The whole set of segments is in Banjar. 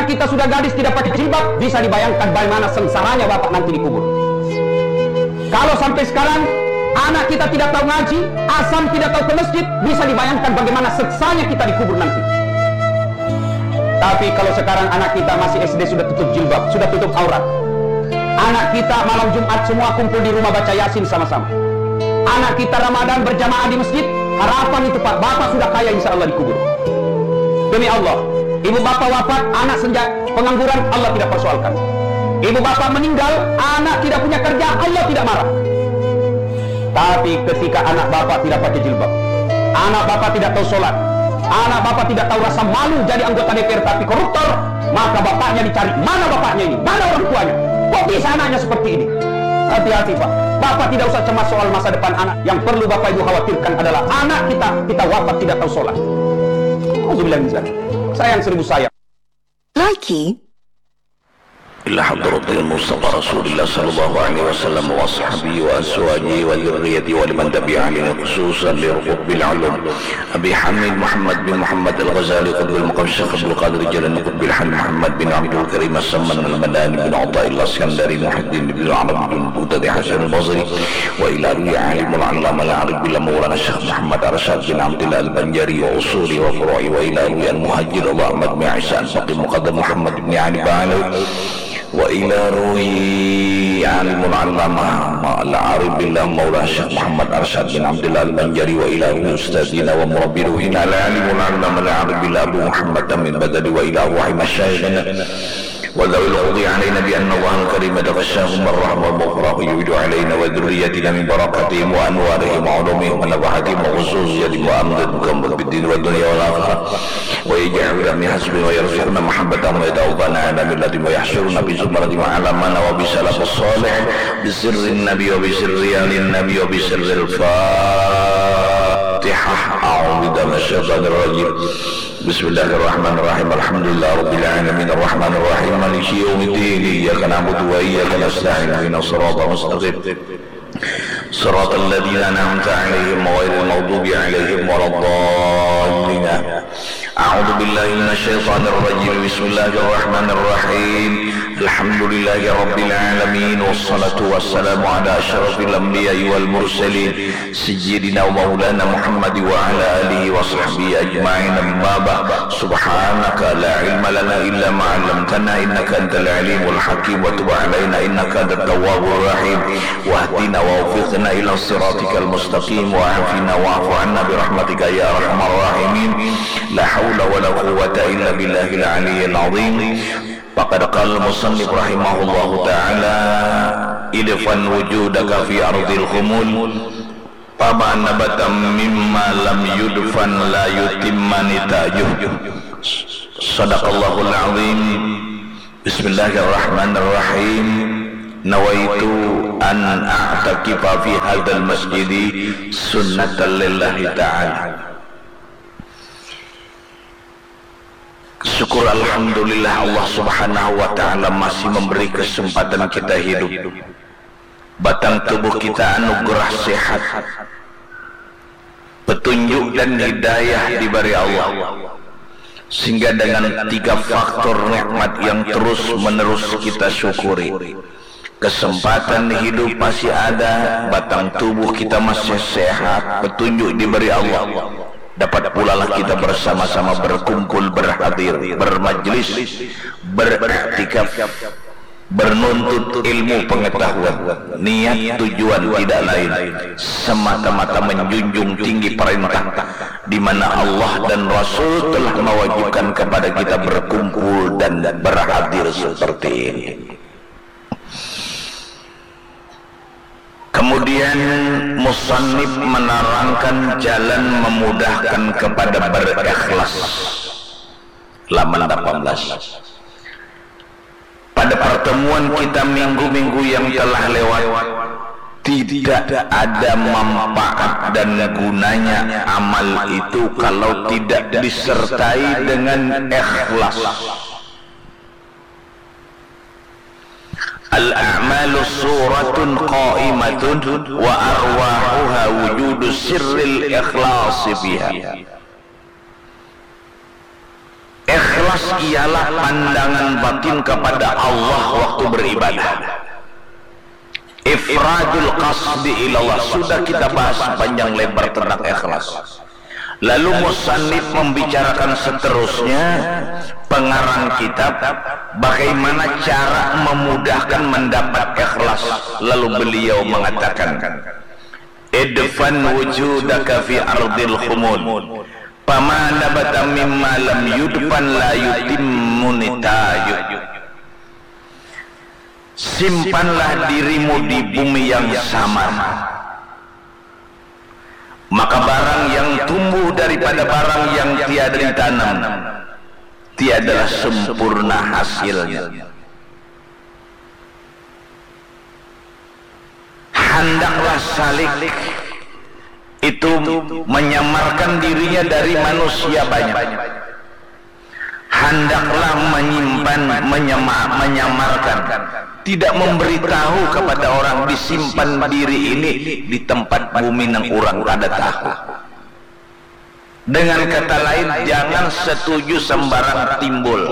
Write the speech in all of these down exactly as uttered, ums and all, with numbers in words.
kita sudah gadis tidak pakai jilbab, bisa dibayangkan bagaimana sengsaranya bapak nanti dikubur. Kalau sampai sekarang anak kita tidak tahu ngaji, asam tidak tahu ke masjid, bisa dibayangkan bagaimana sengsanya kita dikubur nanti. Tapi kalau sekarang anak kita masih S D sudah tutup jilbab, sudah tutup aurat. Anak kita malam Jumat semua kumpul di rumah baca Yasin sama-sama. Anak kita Ramadan berjamaah di masjid, harapan itu Pak, bapak sudah kaya insya Allah dikubur. Demi Allah, ibu bapak wafat, anak senja pengangguran, Allah tidak persoalkan. Ibu bapak meninggal, anak tidak punya kerja, Allah tidak marah. Tapi ketika anak bapak tidak pakai jilbab, anak bapak tidak tahu sholat, anak bapak tidak tahu rasa malu jadi anggota D P R tapi koruptor, maka bapaknya dicari, mana bapaknya ini, mana orang tuanya, kok bisa anaknya seperti ini? Hati-hati Pak, bapak tidak usah cemas soal masa depan anak, yang perlu bapak ibu khawatirkan adalah anak kita, kita wafat tidak tahu sholat. Alhamdulillah, sayang seribu sayang. Lagi. إلى حضرة المصطفى رسول الله صلى الله عليه وسلم وأصحابه وأزواجه وذريته ولمن تبعهم خصوصا لركب العلوم أبي حميد محمد بن محمد الغزالي قطب المقام الشيخ عبد القادر الجيلاني قطب الحميد محمد بن عبد الكريم السمن المداني بن عطاء الله السكندري محي الدين بن عربي بن بغدادي حسن البصري وإلى روح عالم العلامة العارف بالله مولانا الشيخ محمد أرشد بن عبد الله البنجري وأصوله وفروعه وإلى روح المهجر أبو أحمد بن عيسى الفقيه مقدم محمد بن علي بن علوي وإلى روح عالم العلامة العارف بالله مولانا الشيخ محمد أرشد بن عبد الله البنجري وإلى روح أستاذنا ومربي روحنا العالم العلامة العارف بالله أبو محمد تميم البدوي وإلى روح مشايخنا وذوي الفضل علينا بأن الله الكريم يتغشاهم بالرحمة والمغفرة ويعيد علينا وذريتنا من بركاتهم وأنوارهم وعلومهم ونفحاتهم وخصوصياتهم وأمددهم بالدين والدنيا والآخرة ويجعل من حسبنا ويرزقنا محبتهم ويتوفانا على ملتهم ويحشرنا في زمرتهم وعلى منا وبسلف الصالح بسر النبي وبسر آل النبي وبسر الفاتحة. أعوذ بالله من الشيطان الرجيم. بسم الله الرحمن الرحيم. الحمد لله رب العالمين. الرحمن الرحيم. مالك يوم الدين. إياك نعبد وإياك نستعين. اهدنا الصراط المستقيم. صراط الذين أنعمت عليهم غير المغضوب عليهم ولا الضالين. أعوذ بالله من الشيطان الرجيم. بسم الله الرحمن الرحيم. الحمد لله رب العالمين والصلاة والسلام على أشرف الأنبياء والمرسلين سيدنا ومولانا محمد وعلى آله وصحبه أجمعين. أما بعد. سبحانك لا علم لنا إلا ما علمتنا إنك أنت العليم الحكيم وتب علينا إنك أنت التواب الرحيم واهدنا ووفقنا إلى صراطك المستقيم وعافنا واعف عنا برحمتك يا أرحم الراحمين. لا حول ولا قوة إلا بالله العلي العظيم. فقد قال المصنف رحمه الله تعالى: ادفن وجودك في أرض الخمول فما نبت مما لم يدفن لا يتم نتاجه. صدق الله العظيم. بسم الله الرحمن الرحيم. نويت أن أعتكف في هذا المسجد سنة لله تعالى. Syukur alhamdulillah Allah subhanahu wa ta'ala masih memberi kesempatan kita hidup. Batang tubuh kita anugerah sehat, petunjuk dan hidayah diberi Allah, sehingga dengan tiga faktor nikmat yang terus menerus kita syukuri, kesempatan hidup masih ada, batang tubuh kita masih sehat, petunjuk diberi Allah, dapat pulalah kita bersama-sama berkumpul, berhadir, bermajlis, beriktikaf, bernuntut ilmu pengetahuan. Niat tujuan tidak lain, semata-mata menjunjung tinggi perintah, di mana Allah dan Rasul telah mewajibkan kepada kita berkumpul dan berhadir seperti ini. Kemudian musannif menerangkan jalan memudahkan kepada berikhlas. Laman delapan belas. Pada pertemuan kita minggu-minggu yang telah lewat, tidak ada manfaat dan gunanya amal itu kalau tidak disertai dengan ikhlas. Al-a'malu suratun qaimatun wa arwahuha wujudu sirril ikhlasi fiha. Ikhlas ialah pandangan batin kepada Allah waktu beribadah. Ifradul qasdi ilallah, sudah kita bahas panjang lebar tentang ikhlas. Lalu musannif membicarakan seterusnya, pengarang kitab, bagaimana cara memudahkan mendapat ikhlas. Lalu beliau mengatakan, "Idfan wujudaka fi ardil khumul. Fama nabata mimma lam yudfan la yutimmu nitaju." Simpanlah dirimu di bumi yang samar. Maka barang yang tumbuh daripada barang yang tiada ditanam, tiadalah sempurna hasilnya. Handaklah salik itu menyamarkan dirinya dari manusia banyak. Handaklah menyimpan, menyema-, menyamarkan. Tidak memberitahu kepada orang disimpan diri ini di tempat bumi nang urang kada tahu. Dengan kata lain, jangan setuju sembarang timbul.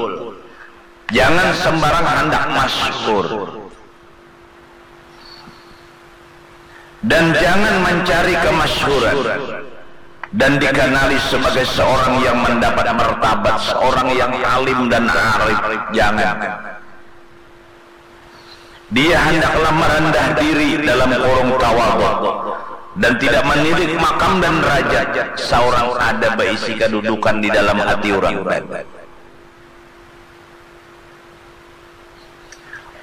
Jangan sembarang handak masyhur. Dan jangan mencari kemasyhuran dan dikenali sebagai seorang yang mendapat martabat, seorang yang alim dan arif. Jangan. Dia hendaklah merendah diri dalam kurung tawadhu dan tidak menilik makam dan derajat seorang ada baisi kedudukan di dalam hati orang.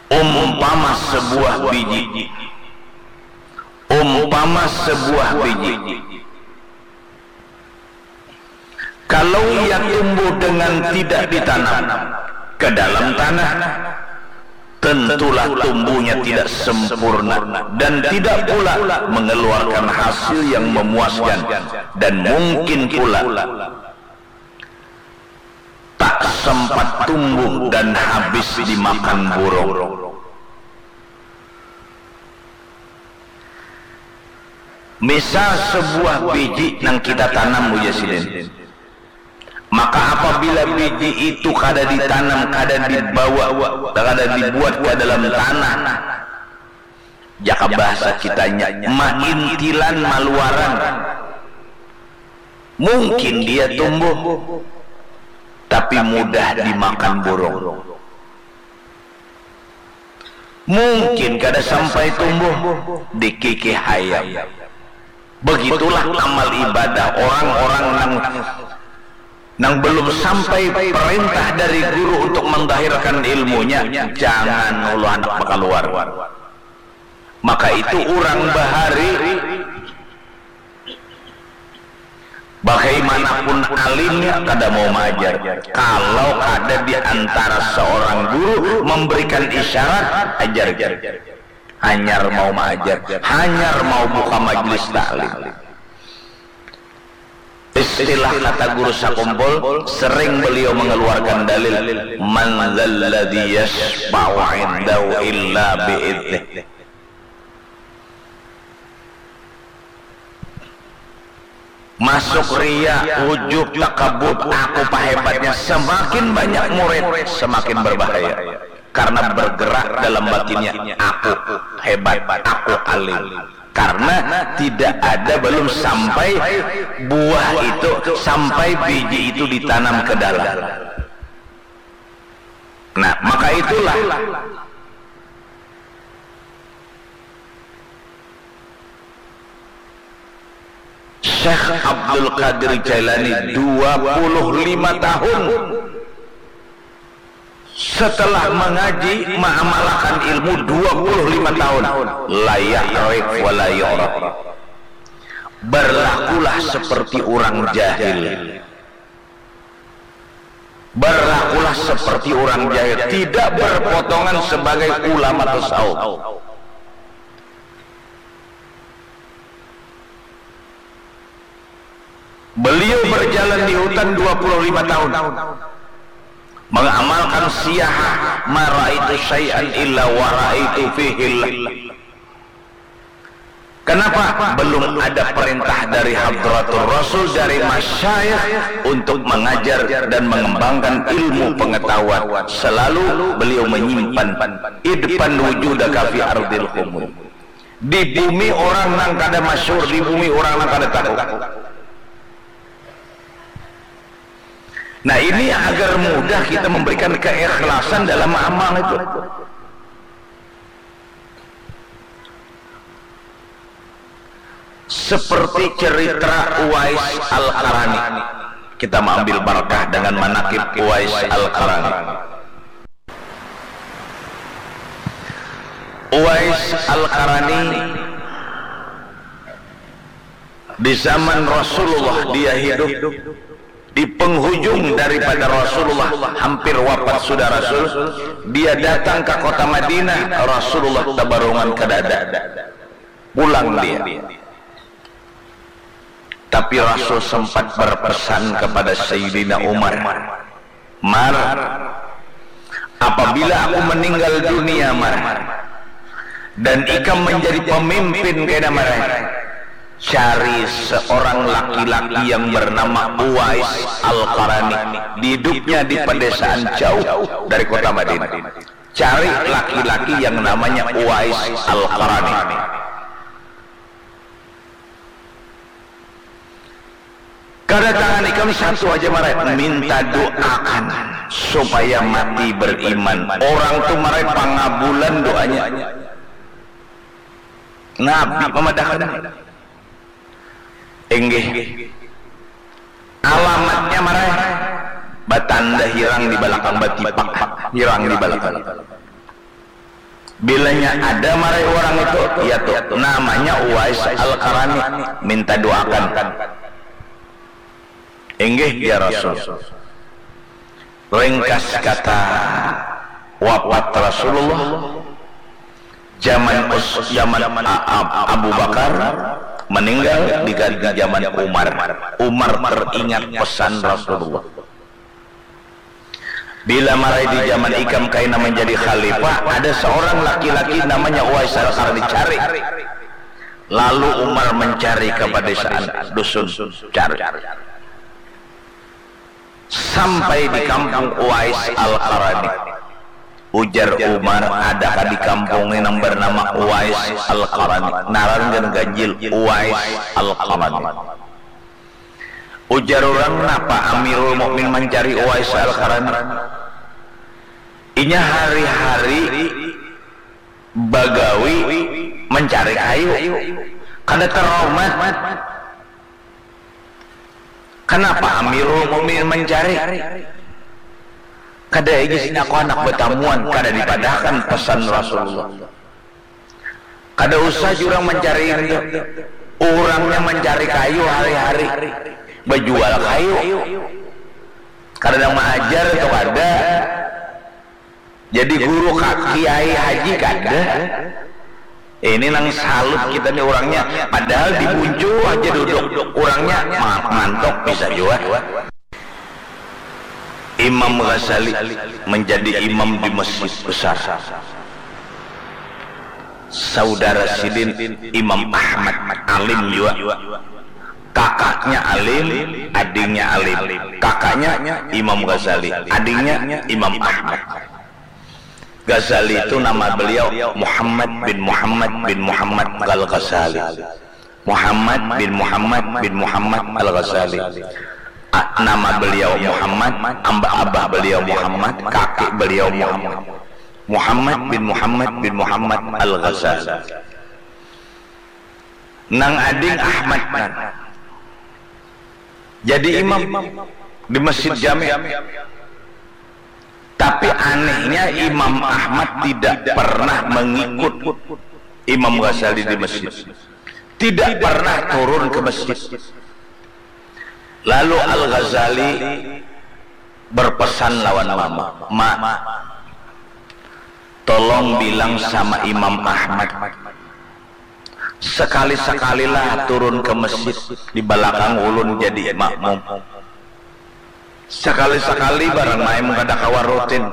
Umpama sebuah biji. Umpama sebuah biji. Kalau ia tumbuh dengan tidak ditanam ke dalam tanah, tentulah tumbuhnya tidak sempurna dan tidak pula mengeluarkan hasil yang memuaskan, dan mungkin pula tak sempat tumbuh dan habis dimakan burung. Misal sebuah biji nang kita tanam, ujar sidin. Maka apabila biji itu kada ditanam, kada dibawa, kada dibuat ke dalam tanah, jaka bahasa kitanya, maintilan maluaran. Mungkin dia tumbuh, tapi mudah dimakan burung. Mungkin kada sampai tumbuh, dikikih hayam. Begitulah amal ibadah orang-orang nang, nang belum sampai perintah dari guru untuk mendahirkan ilmunya, jangan ulu handak bakaluar. Maka itu urang bahari, bagaimanapun alimnya, kada mau maajar kalau kada di antara seorang guru memberikan isyarat, ajar. Hanyar mau maajar, hanyar mau buka majlis taklim. Istilah kata guru sakumpul, sering beliau mengeluarkan dalil, "Man dzalladzi yasyfa'u indahu illa bi'idznih." Masuk ria, ujub, takabut, aku pahebatnya. Semakin banyak murid, semakin berbahaya. Karena bergerak dalam batinnya, aku hebat, aku alim. Karena tidak ada, belum sampai buah itu, sampai biji itu ditanam ke dalam. Nah, maka itulah Syekh Abdul Qadir Jailani dua puluh lima tahun setelah mengaji, mengamalkan ilmu dua puluh lima tahun, la ya'rif wa la yu'raf. Berlakulah seperti orang jahil. Berlakulah seperti orang jahil, tidak berpotongan sebagai ulama tasawuf. Beliau berjalan di hutan dua puluh lima tahun, mengamalkan siyahah, "Ma ra'aitu syai'an illa wa ra'aitu fihillah." Kenapa? Belum ada perintah dari Hadratur Rasul, dari masyayikh untuk mengajar dan mengembangkan ilmu pengetahuan. Selalu beliau menyimpan idpan wujudaka fi ardil khumul. Di bumi orang nang kada masyhur, di bumi orang nang kada tahu. Nah, ini agar mudah kita memberikan keikhlasan dalam amal itu. Seperti cerita Uwais Al-Qarani. Kita mengambil barakah dengan manakib Uwais Al-Qarani. Uwais Al-Qarani, di zaman Rasulullah dia hidup, di penghujung daripada Rasulullah hampir wafat sudah Rasul, dia datang ke kota Madinah, Rasulullah tabarungan kadada. Pulang dia. Tapi Rasul sempat berpesan kepada Sayyidina Umar, "Mar, apabila aku meninggal dunia, Mar, dan ikam menjadi pemimpin kena, Mar, cari seorang laki-laki yang bernama Uwais Al-Qarani. Hidupnya di pedesaan jauh dari kota Madinah. Cari laki-laki yang namanya Uwais Al-Qarani." Kedatangan ikam satu aja, Marai, minta doakan supaya mati beriman. Orang tu, Marai, pangabulan doanya. Nabi pamadahan. Inggih. Alamatnya, Marai, batanda hirang di balakang, batipak hirang di balakang. Bilanya ada, Marai, orang itu, ya tu, namanya Uwais Al-Qarani, minta doakan. Inggih, ya Rasul. Ringkas kata, wafat Rasulullah, zaman Us-, zaman A-, A-, Abu Bakar, meninggal, diganti zaman Umar. Umar teringat pesan Rasulullah. Bila, Marai, di zaman ikam kaina menjadi khalifah, ada seorang laki-laki namanya Uwais Al-Qarni, cari. Lalu Umar mencari ke pedesaan dusun, cari. Sampai di kampung Uwais Al-Qarni. Ujar Umar, "Adakah di kampung ini yang bernama Uwais Al-Qarni?" Ngaran ganjil, Uwais Al-Qarni. Ujar urang, "Napa Amirul Mukminin mancari Uwais Al-Qarni?" "Inya hari-hari bagawi mancari kayu. Kada tarumat. Kanapa Amirul Mukminin mancari?" "Kada, Ijis, ini aku handak batamuan." Kada dipadahakan pesan Rasulullah. Kada usah jua urang mancari itu. Urangnya mancari kayu hari-hari. Bajual kayu. Kada nang maajar tu kada. Jadi guru ka-, kiai haji kada. Ini nang salut kita ni urangnya. Padahal di buncu haja duduk. Urangnya ma-, mantok bisa jua. Imam Ghazali menjadi imam di masjid besar. Saudara sidin Imam Ahmad alim jua. Kakaknya alim, adingnya alim. Kakaknya Imam Ghazali, adingnya Imam Ahmad. Ghazali itu nama beliau Muhammad bin Muhammad bin Muhammad Al-Ghazali. Muhammad bin Muhammad bin Muhammad Al-Ghazali. A-, nama beliau Muhammad, amba abah beliau Muhammad, kakek beliau Muhammad. Muhammad bin Muhammad bin Muhammad Al-Ghazali. Nang ading Ahmad, nah. Jadi imam di Masjid Jami. Tapi anehnya Imam Ahmad tidak pernah mengikut Imam Ghazali di masjid. Tidak pernah turun ke masjid. Lalu Al-Ghazali berpesan lawan mama, "Ma, tolong bilang sama Imam Ahmad, sekali-sekalilah turun ke masjid di balakang ulun jadi makmum. Sekali-sekali barang, maim kada kawa rutin."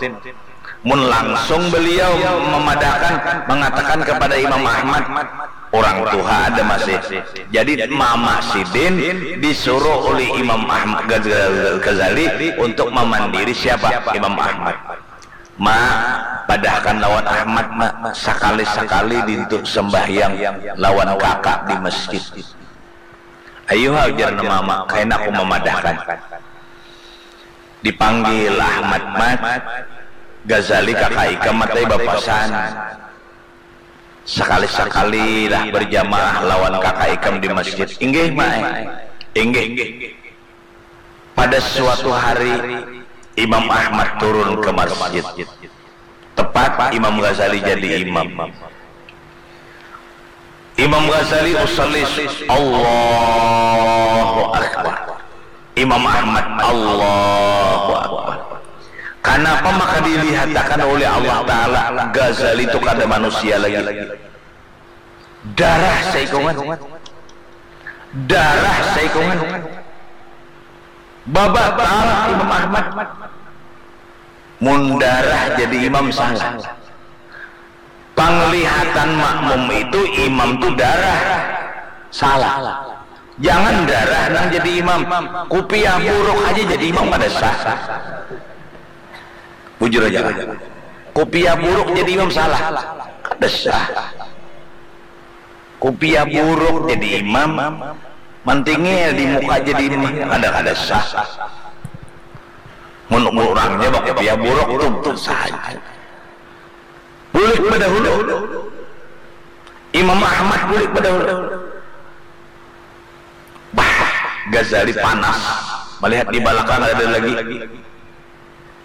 Mun langsung beliau memadahakan, mengatakan kepada Imam Ahmad, Orang tuha ada masih. Jadi mama sidin disuruh oleh Imam Ahmad Ghazali untuk memandiri siapa? Imam Ahmad. Ma, padahkan lawan Ahmad, ma, sakali-sakali dintu sembahyang lawan kakak di masjid. Ayuha, ujar mama, kaina aku memadahkan. Dipanggil Ahmad, Mat, Ghazali kakak ikam matai bapasan. Sakali-sakali lah berjamaah lawan kakak ikam di masjid. Inggih, Mak. Inggih. Pada suatu hari, Imam Ahmad turun ke masjid. Tepat Imam Ghazali jadi imam. Imam Ghazali usalli, Allahu Akbar. Imam Ahmad, Allahu Akbar. Kenapa maka dilihatakan oleh Allah Ta'ala Ghazali itu kada manusia lagi? Darah saikungan. Darah saikungan. Babatal Imam Ahmad. Mun darah jadi imam salah. Panglihatan makmum itu imam tu darah. Salah. Jangan darah nang jadi imam. Kupiah buruk aja jadi imam kada sah. Bujur aja lah. Kupiah buruk jadi imam salah. Kada sah. Kupiah buruk jadi imam, mantingil di muka jadi imam, kada, kada sah. Mun urangnya bakupiah buruk tu, tu saja. Bulik badahulu. Imam Ahmad bulik badahulu. Bah, Ghazali panas. Melihat di balakang ada lagi.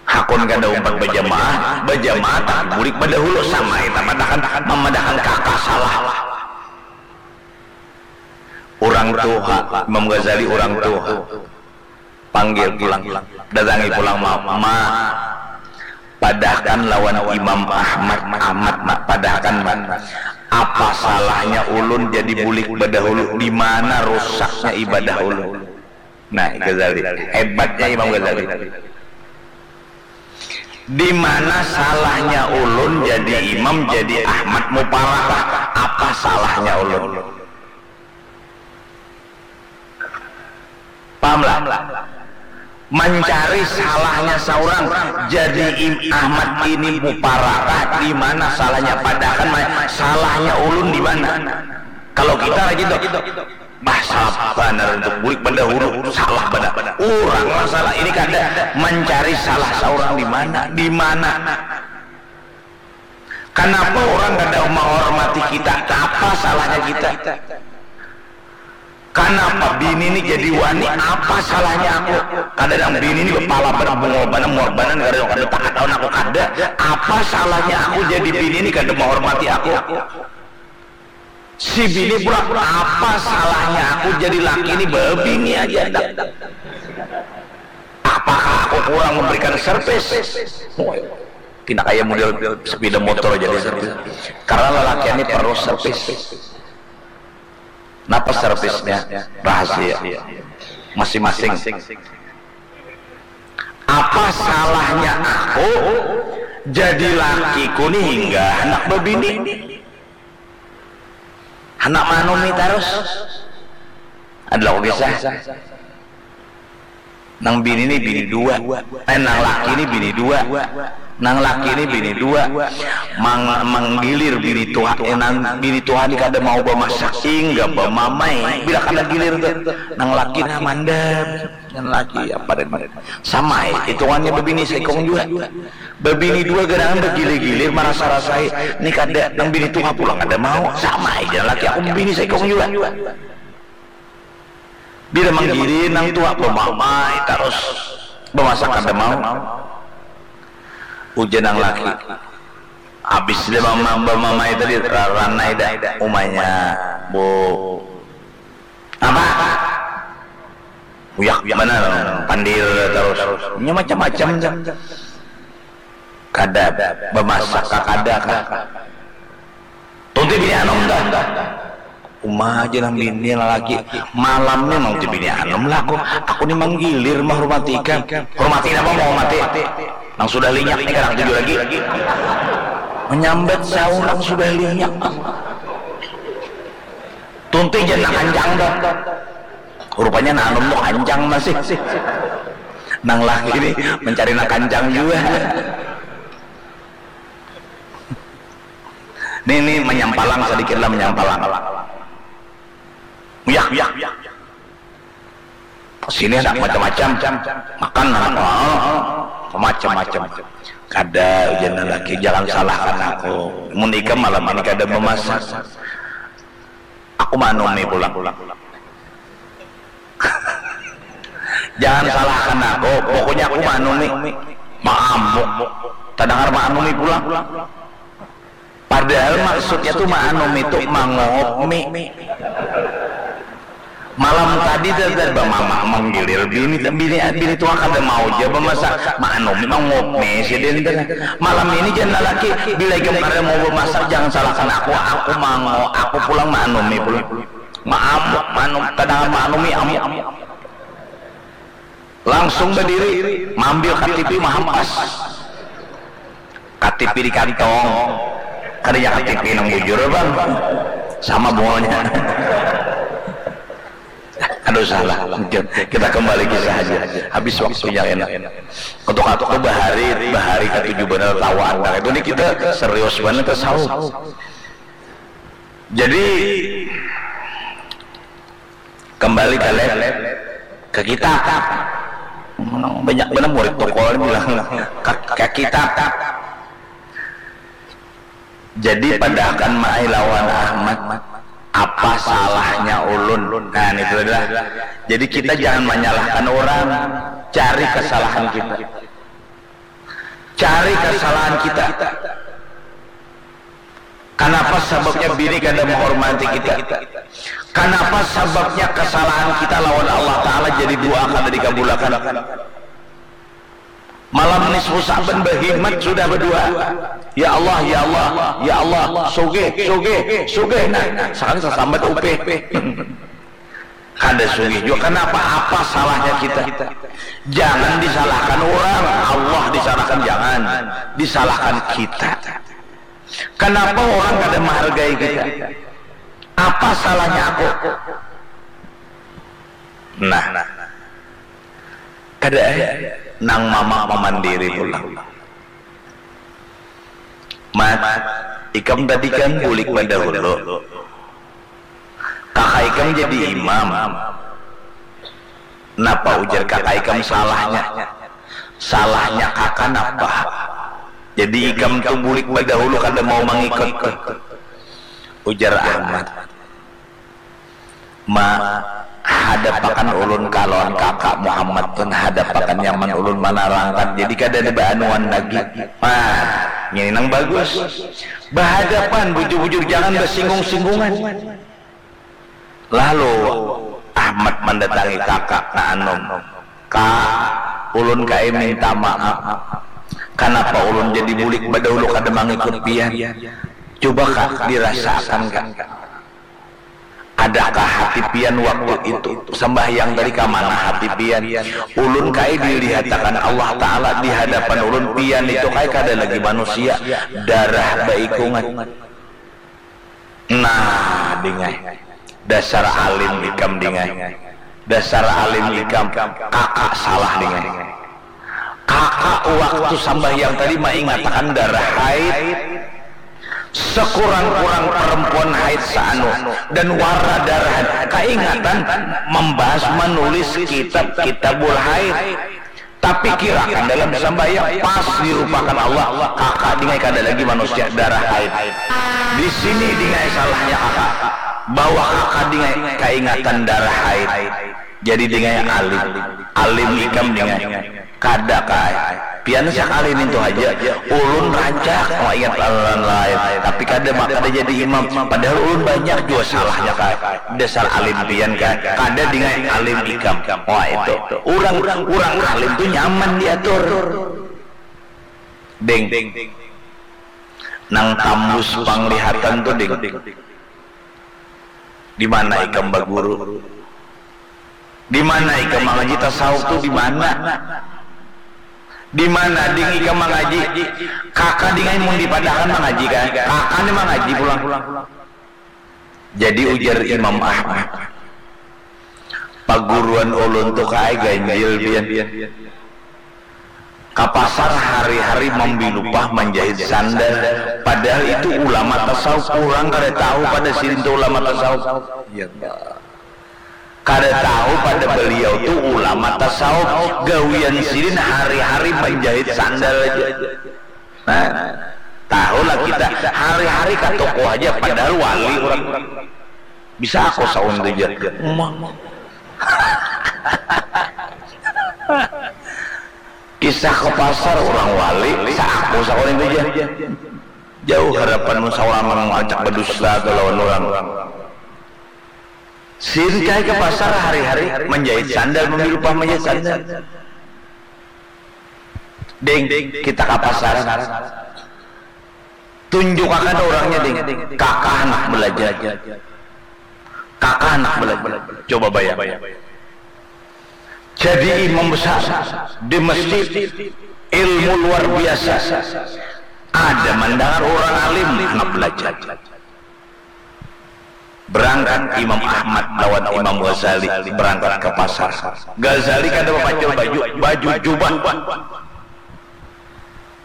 Hakun kada umpat bajamaah, bajamaah tapi bulik badahulu sama kita madakan, mamadakan kakak salah. Urang tuha, Imam Ghazali urang tuha. Panggil pulang. Datangi pulang, Ma. Ma, padahkan lawan Imam Ahmad, Ahmad, Ma. Padahkan, Ma. Apa salahnya ulun jadi bulik badahulu? Di mana rusaknya ibadah ulun? Nah, Ghazali. Hebatnya Imam Ghazali. Di mana salahnya ulun jadi imam, jadi Ahmad Muparakah? Apa salahnya ulun? Pahamlah? Mancari salahnya saurang, jadi im-, Ahmad ini Muparakah, di mana salahnya? Padahkan ma-, salahnya ulun di mana? Kalau kita lagi tuh, bah, salah banar untuk bulik badahulu, salah banar. Urang lah salah, ini kada mancari salah saurang di mana, di mana. Kenapa orang kada menghormati kita? Apa salahnya kita? Kenapa bini ini jadi wani? Apa salahnya aku? Kada nang bini ini bepala pada bungul banar, muar banar, kada, kada taat lawan aku, kada. Apa salahnya aku jadi bini ini kada menghormati aku? Si bini pula, apa salahnya aku jadi laki ini, babini aja dak. Apakah aku kurang memberikan servis? Pina kaya model sepeda motor jadi servis. Karena lelakian ini perlu servis. Napa servisnya? Rahasia. Masing-masing. Apa salahnya aku jadi lakiku ni hingga handak babini? Handak manumi tarus. Ada laku kisah. Nang bini ni bini dua. Eh, nang laki ni bini dua. Nang laki ni bini dua. Mang-, manggilir bini tuha, eh, nang bini tuha ni kada mau bamasak, hingga bamamai. Bila kada gilir tu, nang laki nah mandam. Nang laki apa dan sama, eh, hitungannya babini saikung jua. Babini dua gerangan bagilir-gilir, marasa-rasai. Ni kada, nang bini tuha pulang kada mau. Sama aja laki aku babini saikung jua. Bila manggilir nang tuha bamamai tarus, bamasak kada mau. Ujar nang laki, habis dia bama-, bamamai tadi, ra-, ranai dah umanya, Bu. Apa? Uyak banar, pandir tarus. Nya macam-macam dah. Kada, bamasak kah kada kah? Tunti bini anum dah. Uma aja nang bini lalaki. Malam ni nang tunti bini anum lah aku. Aku ni manggilir mahormati ikam. Hormati napa mahormati? Nang sudah linyak ni kada katuju lagi. Menyambat saurang sudah linyak. Tunti jan nang kancang tuh. Rupanya nang anum tuh kancang masih. Nang laki ini mencari nang kancang juga. Nih, nih, menyampalang sedikit lah, menyampalang. Uyah, uyah. Sini ada macam-macam. Makan anak, oh, macam-macam. Kada, ujar laki, jangan salahkan aku. Mun ikam malam ini kada memasak, aku manumi pulang. Jangan salahkan aku, pokoknya aku manumi. Maamuk. Tadangar manumi pulang. Padahal maksudnya tuh maanum itu mangopi. Malam tadi dadar bamama manggilir bini, bini, bini tua kada mau ja bamasak, maanumi mangopi sidin teh. Malam ini jan lalaki, bila ikam kada mau bamasak, jangan salahkan aku, aku mango, aku pulang maanumi pulang. Maamuk, maanum, tadangar maanumi amuk. Langsung badiri, maambil K T P, mahampas. K T P di kantong. Kada nya K T P nang bujur, Bang. Sama bunganya. Aduh, salah. Kita kembali kisah aja. Habis waktunya, enak. Untuk aku bahari, bahari katuju banar tawa anda. Itu nih kita serius banget tasawuf. Jadi, kembali ka lab, ka kita. Banyak banar murid tokol bilang, ka, ka kita. Jadi, padahakan Maai lawan Ahmad, apa salahnya ulun? Nah, itu adalah. Jadi, kita jangan manyalahkan orang, cari kasalahan kita. Cari kasalahan kita. Kanapa sababnya bini kada mahormati kita? Kanapa sababnya kasalahan kita lawan Allah Ta'ala jadi dua kada dikabulakan? Malam nisfu Sa'ban bahimat sudah badua. Ya Allah, ya Allah, ya Allah, sugih, sugih, sugih. Nah, sakali sasambat upih. Kada sugih jua. Kanapa? Apa salahnya kita? Jangan disalahkan orang, Allah disalahkan, jangan. Disalahkan kita. Kanapa orang kada mahargai kita? Apa salahnya aku? Nah, kada ai. Nang mama mamandiri pulang. Mat, ikam tadi kan bulik badahulu. Kaka ikam jadi imam. Napa ujar kaka ikam salahnya? Salahnya kaka napa? Jadi ikam tu bulik badahulu kada mau mangikut. Ujar Ahmad. Ma, hadapakan ulun kalawan kaka Muhammad pun hadapakan nyaman ulun manarangkan. Jadi kada ada baanuan lagi. Ma, ini nang bagus. Bahadapan bujur-bujur, jangan basinggung-singgungan. Lalu Ahmad mandatangi kaka na anum. Ka, ulun kai minta maaf. Kanapa ulun jadi bulik badahulu kada mangikut pian? Coba ka, dirasakan ka. Adakah hati pian waktu itu? Sambahyang tadi kamana hati pian? Ulun kai dilihatakan Allah Ta'ala di hadapan ulun, pian itu kai kada lagi manusia, darah baikungan. Nah, dingai. Dasar alim ikam, dingai. Dasar alim ikam, kaka salah, dingai. Kaka waktu sambahyang tadi maingatakan darah haid. Sekurang-kurang perempuan haid saanu dan warna darah kaingatan membahas, menulis kitab Kitabul Haid. Tapi kirakan dalam sambahyang pas dirupakan Allah, kaka dingai kada lagi manusia, darah haid. Di sini dingai salahnya kaka, bahwa kaka dingai kaingatan darah haid. Jadi dingai alim, alim ikam dingai. Kada kai. Pian sakali nintu haja, ulun rancak mau ingat lawan lain, tapi kada ma-, kada jadi imam. Padahal ulun banyak jua salahnya kai. Dasar alim pian kai. Kada dingai alim ikam. Wah itu. Urang, urang alim tu nyaman diatur. Ding. Nang tambus panglihatan tu, ding. Di mana ikam baguru? Di mana ikam mangaji tasawuf tu, di mana? Di mana, ding, ikam mangaji? Kaka, ding ai, mun dipadahakan mangaji, kan? Kaka ni mangaji pulang. Jadi ujar Imam Ahmad, paguruan ulun tu kaai ganjil pian. Ka pasar hari-hari mambilupah manjahit sandal, padahal itu ulama tasawuf, urang kada tahu pada sidin tu ulama tasawuf. Ya Allah. Kada tahu pada beliau tu ulama tasawuf, gawian sidin hari-hari manjahit sandal aja. Nah, tahulah kita hari-hari ka toko aja padahal wali urang. Bisa aku saun tu ja. Kisah ke pasar urang wali, saku saun tu ja. Jauh harapanmu saurang nang acak badusta tu lawan urang. Sin kai ke pasar hari-hari manjahit sandal, mambilupah manjahit sandal. Ding, kita ka pasar. Tunjukakan urangnya, Ding. Kakah handak belajar. Kakah handak belajar. Coba bayang. Jadi imam besar di masjid, ilmu luar biasa. Ada mandangar urang alim handak belajar. Berangkat Imam Ahmad lawan Imam Ghazali berangkat ke pasar. Ghazali kada bapacul baju, baju jubah.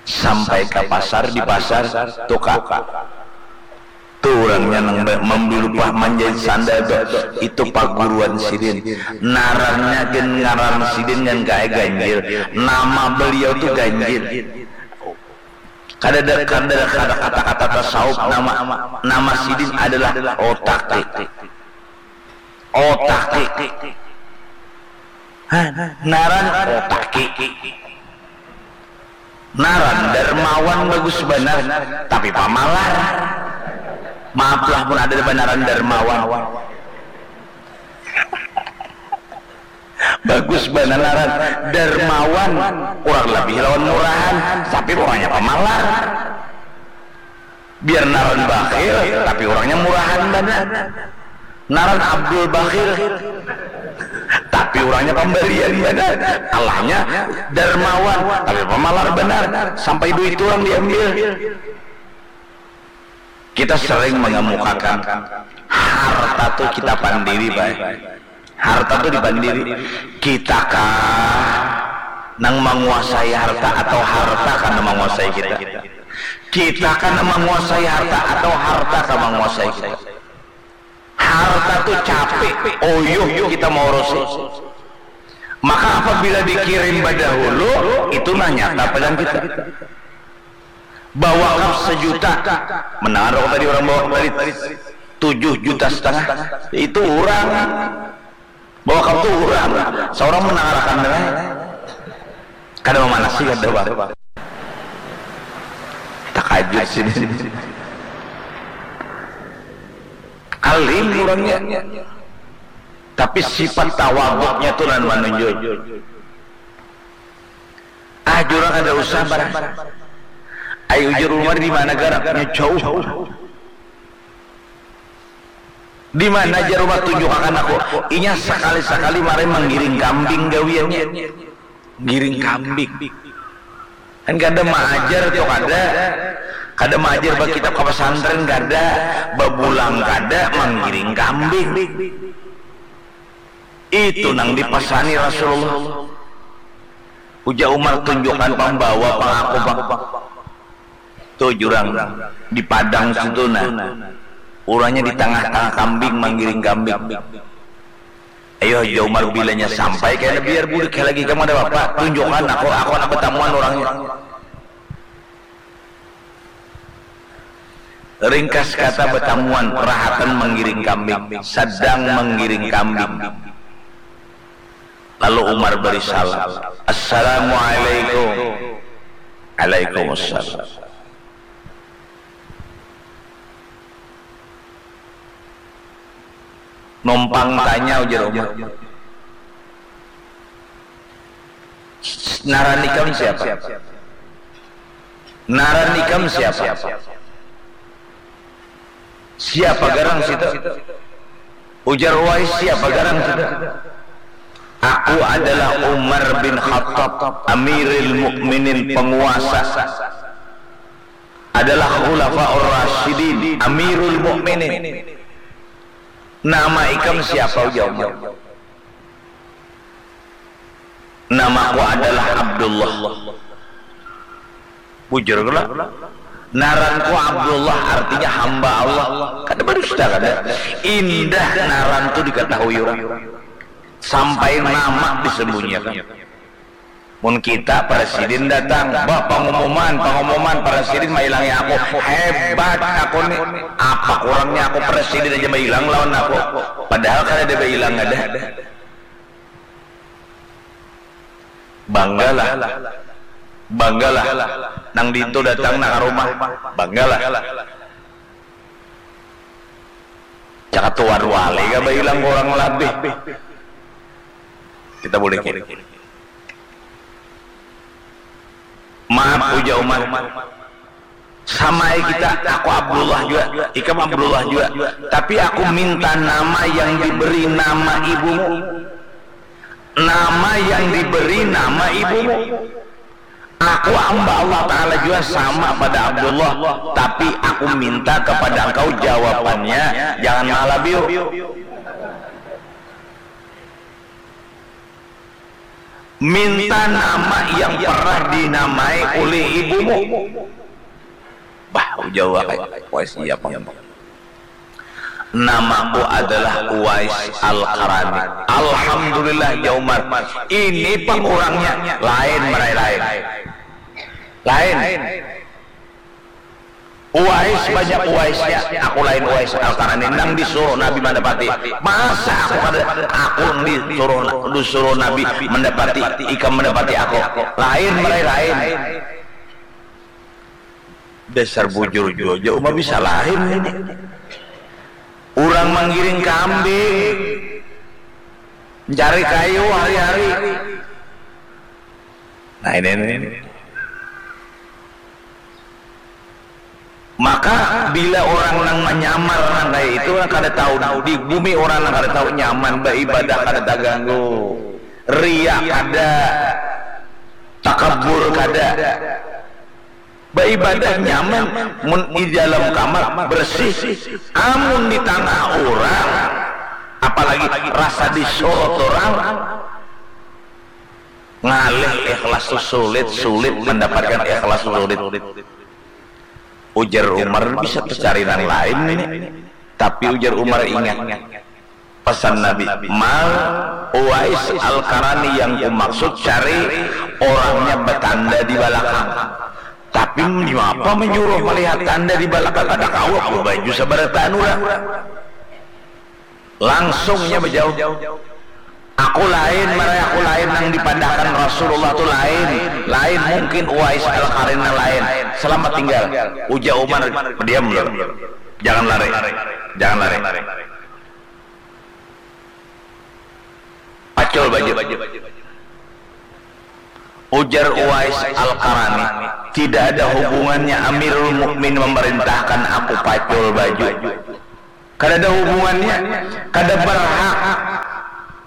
Sampai ke pasar, di pasar, tuka. Tu urangnya nang ba-, mambilupah manjahit sandal tu, itu paguruan sidin. Narannya gin ngaran sidin ngan kae ganjil. Nama beliau tu ganjil. Kadada, kadada, kada kata-kata tasawuf nama, nama sidin adalah Otaki. Otaki. Hah, naran Otaki. Naran dermawan bagus banar, tapi pamalar. Maaflah mun ada banaran dermawan. Bagus banar ngaran dermawan, kurang lebih lawan murahan, tapi pokoknya pamalar. Biar ngaran bakhil, tapi urangnya murahan banar. Ngaran Abdul Bakhil, tapi urangnya pambarian banar. Allahnya dermawan, tapi pamalar banar. Sampai duit urang diambil. Kita sering mengemukakan harta tu kita pandiri, baik. Harta tu dipandiri. Kita kah nang menguasai harta atau harta kah nang menguasai kita? Kita kah nang menguasai harta atau harta kah menguasai kita? Harta tu capek, uyuh kita maurusi. Maka apabila dikirim badahulu, itu nah nyata pada kita. Bawakaf sejuta. Mendengar aku tadi orang bawakaf tadi tujuh juta setengah. Itu urang. Bawakaf tu urang. Seorang mendengarkan dengar. Kada memanasi kada, Bang. Takajut sini. Alim urangnya. Tapi sifat tawaduknya tu nan manunjul. Ah, jurang kada usah barang. Ai ujar Umar di mana garapnya jauh. Di mana jar Umar tunjukakan aku. Inya sakali-sakali mari manggiring kambing gawiannya. Giring kambing. Kan kada maajar tu kada. Kada maajar bakitab ka pasantren kada. Babulang kada manggiring kambing. Itu nang dipasani Rasulullah. Ujar Umar tunjukan pang bawa pang aku pang. Tu jurang di Padang situ nah. Urangnya di tangah-tangah kambing manggiring kambing. Ayo ujar Umar bilanya sampai kena biar bulik lagi kamu ada apa? Tunjukan aku, aku nak batamuan urangnya. Ringkas kata batamuan, rahatan manggiring kambing, sadang manggiring kambing. Lalu Umar bari salam, "Assalamualaikum." "Alaikumussalam." Numpang tanya ujar Umar. "Naran ikam siapa? Naran ikam siapa? Siapa garang situ?" Ujar Uwais, "Siapa garang situ?" "Aku adalah Umar bin Khattab, Amiril Mukminin, penguasa. Adalah Khulafaur Rasyidin, Amirul Mukminin." Nama ikam siapa, ujar Umar. Namaku adalah Abdullah. Bujur kalo. Naranku Abdullah artinya hamba Allah. Kada badusta kada. Indah naran tu dikatahui urang. Sampai nama disembunyiakan. Mun kita presiden datang, bah pangumuman, pangumuman presiden mailangi aku. Hebat aku ni. Apa kurangnya aku presiden aja mailang lawan aku. Padahal kada ada mailang ada. Banggalah. Banggalah. Nang dintu datang nang rumah. Banggalah. Cakatuan wali ka bailang kurang labih. Kita boleh kini. Maaf ujar Umar. Samai kita, aku Abdullah jua, ikam Abdullah jua. Tapi aku minta nama yang diberi nama ibumu. Nama yang diberi nama ibumu. Aku hamba Allah Ta'ala jua sama pada Abdullah. Tapi aku minta kepada engkau jawabannya, jangan malabiu. Minta nama yang pernah dinamai oleh ibumu. Bah, ujar Uwais, Uwais iya pang. Namaku adalah Uwais Al-Qarani. Alhamdulillah, jar Umar. Ini pang urangnya. Lain, marai lain. Lain. Uwais banyak Uwaisnya, aku lain Uwais Al-Qarani nang disuruh Nabi mandapati. Masa aku kada, aku nang disuruh, disuruh Nabi mandapati, ikam mandapati aku. Lain, marai lain. Dasar bujur jua, jar Umar, bisa lain ini. Urang manggiring kambing, mencari kayu hari-hari. Nah, ini, ini, ini. Maka bila orang nang manyamar nang kaya itu, orang kada tahu, di bumi orang nang kada tahu nyaman, baibadah kada taganggu, riya kada, takabur kada. Baibadah nyaman, mun di dalam kamar bersih. Amun di tangah urang, apalagi rasa disorot urang, ngalih ikhlas tu sulit, sulit mendapatkan ikhlas tu sulit. Ujar Umar, bisa tacari nang lain ini. Tapi ujar Umar, ingat, pesan Nabi, Mal, Uwais Al-Qarani yang kumaksud cari orangnya betanda di balakang. Tapi manyapa manyuruh malihat tanda di balakang, kada kawa ku baju sabarataan urang. Langsungnya bajawab, aku lain, marai aku lain, nang dipadahakan Rasulullah tu lain, lain mungkin Uwais Al-Qarani nang lain. Selamat tinggal, ujar Umar, diam dulu. Jangan lari, jangan lari. Pacul baju. Ujar Uwais Al-Qarani, tidak ada hubungannya Amirul Mukmin memerintahkan aku pacul baju. Kada ada hubungannya, kada berhak.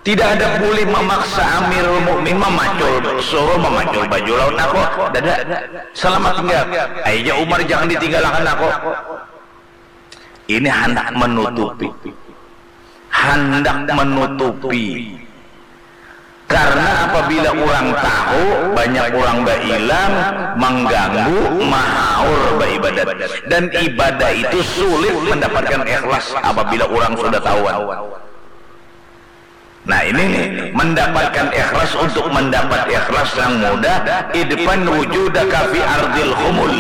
Tidak ada boleh memaksa Amirul Mukmin memacul, suruh memacul baju lawan aku. Kada ada. Selamat tinggal. Ai jar Umar, jangan ditinggalakan aku. Ini handak menutupi. Handak menutupi. Karena apabila urang tahu, banyak urang bailang, mangganggu, mahaur baibadat. Dan ibadah itu sulit mendapatkan ikhlas apabila urang sudah tahuan. Nah, ini nih, mendapatkan ikhlas, untuk mendapat ikhlas yang mudah, idfan wujudaka fi ardil khumul.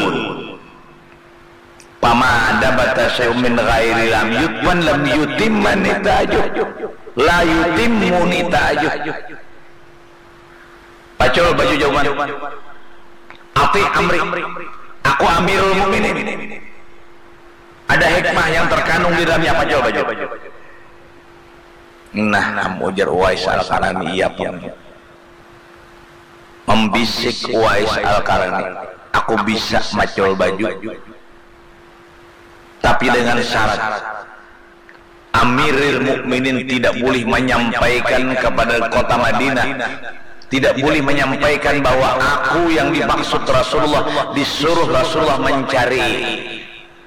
Pama nabata syai'un min ghairi lam yudfan lam yutimma nitajuh. La yutimmu nitajuh. Pacul baju jawaban. Ati amri. Aku Amirul Mukminin. Ada hikmah yang terkandung di dalamnya, pacul baju. Nah, am ujar Uwais Al-Qarani, iya pun. Membisik Uwais Al-Qarani, aku bisa macul baju. Tapi dengan syarat, Amiril Mukminin tidak boleh menyampaikan kepada kota Madinah, tidak boleh menyampaikan bahwa aku yang dimaksud Rasulullah, disuruh Rasulullah mencari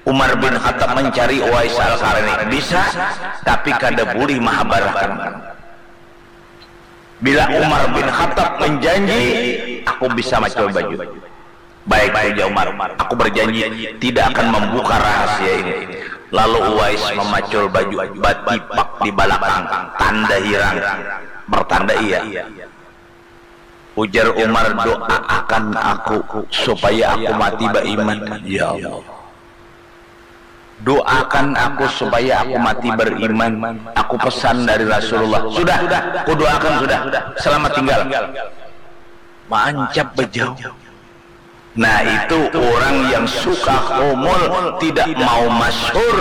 Umar bin Khattab mencari Uwais Al-Qarni, bisa, tapi kada bulih mahabarakan. Bila Umar bin Khattab menjanji, aku bisa macul baju. Baik, ujar Umar, aku berjanji tidak akan membuka rahasia ini. Lalu Uwais memacul baju, batipak di balakang, tanda hirang, bertanda iya. Ujar Umar, doaakan aku supaya aku mati baiman, ya Allah. Doakan aku supaya aku mati beriman. Aku pesan dari Rasulullah. Sudah, aku doakan sudah. Selamat tinggal. Maancap bejauh. Nah, itu orang yang suka humul, tidak mau masyhur,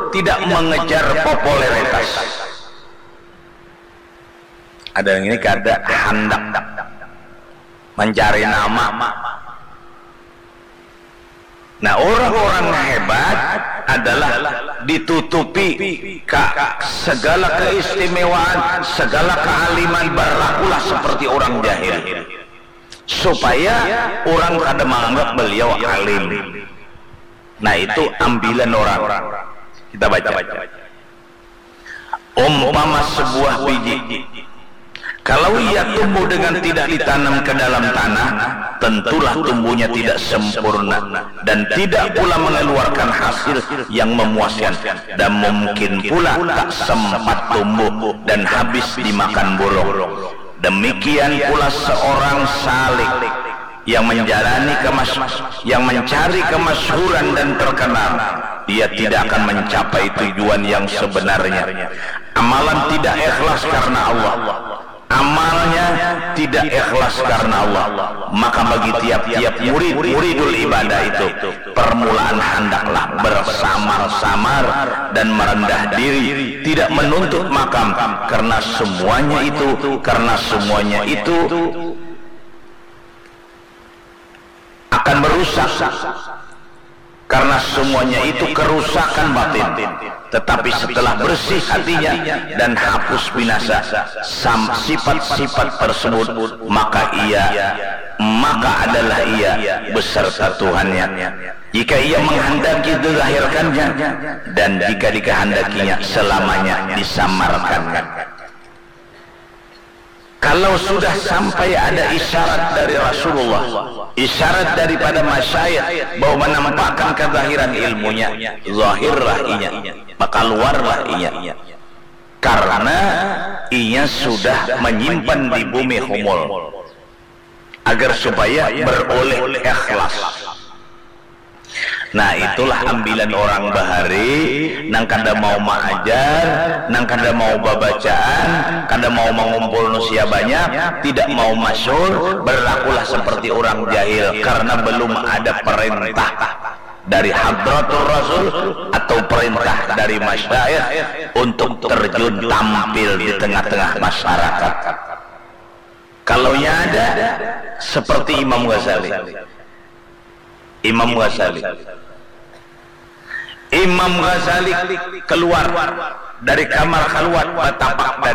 tidak mengejar popularitas. Ada yang ini kada handak mencari nama. Nah, orang-orang hebat adalah ditutupi ka segala keistimewaan, segala kealiman, berlakulah seperti orang jahil. Supaya orang kada menganggap beliau alim. Nah, itu ambilan orang. Kita baca. Umpama sebuah biji, kalau ia tumbuh dengan tidak ditanam ke dalam tanah, tentulah tumbuhnya tidak sempurna dan tidak pula mengeluarkan hasil yang memuaskan, dan mungkin pula tak sempat tumbuh dan habis dimakan burung. Demikian pula seorang salik yang menjalani kemas yang mencari kemasyhuran dan terkenal, dia tidak akan mencapai tujuan yang sebenarnya. Amalan tidak ikhlas karena Allah. Amalnya tidak ikhlas karena Allah. Maka bagi tiap-tiap murid, muridul ibadah itu, permulaan handaklah bersamar-samar dan merendah diri, tidak menuntut makam, karena semuanya itu, karena semuanya itu akan merusak, karena semuanya itu kerusakan batin. Tetapi setelah bersih hatinya dan hapus binasa sam- sifat-sifat tersebut, maka ia maka adalah ia beserta Tuhannya. Jika ia menghendaki dizahirkannya, dan jika dikehendakinya selamanya disamarkannya. Kalau sudah sampai ada isyarat dari Rasulullah, isyarat daripada masyayikh bahwa menampakkan kezahiran ilmunya, zahirlah inya, maka keluarlah inya. Karena inya sudah menyimpan di bumi humul, agar supaya beroleh ikhlas. Nah, itulah ambilan orang bahari, nang kada mau maajar, nang kada mau babacaan, kada mau mangumpul nusia banyak, tidak mau masyhur, berlakulah seperti orang jahil karena belum ada perintah dari hadratur rasul atau perintah dari masyayikh untuk terjun tampil di tengah-tengah masyarakat. Kalau nya ada seperti Imam Ghazali. Imam Ghazali. Imam Ghazali keluar dari kamar khalwat, batapak